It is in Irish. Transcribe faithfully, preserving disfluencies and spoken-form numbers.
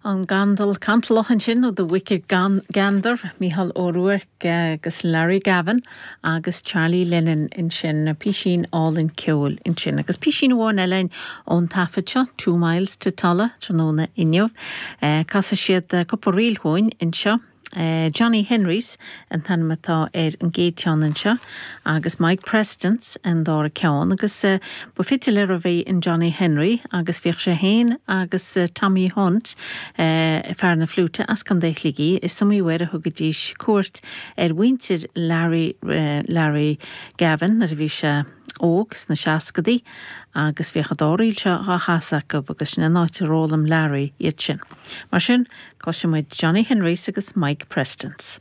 An gandal cantalach ansin ó The Wicked Gander, Mícheál Ó Ruairc agus Larry Gavin agus Charlie Lennon ansin písín álainn ceoil ansin. Agus písín amháin eile ón taifead seo, Two Miles to Tulla tráthnóna inniu. Eh, Casfaidh siad cúpla ríl chugainn anseo. Uh, Johnny Henrys an t-ainm atá ar an gcéad cheann anseo agus Mike Prestons an dara ceann agus uh, ba fidléir a bhí in Johnny Henry agus bhíodh sé féin agus uh, Tommy Hunt uh, fear na fliúite as Contae Shligigh is iomaí uair a thugaidís cuairt ar mhuintir Larry, uh, Larry Gavin nuair a bhí sé óg sna seascadaí agus bhíodh an dá ríl seo á chasadh acu agus sin an áit ar fhoghlaim Larry iad sin. Mar sin cloisfimid Johnny Henrys agus Mike Prestons.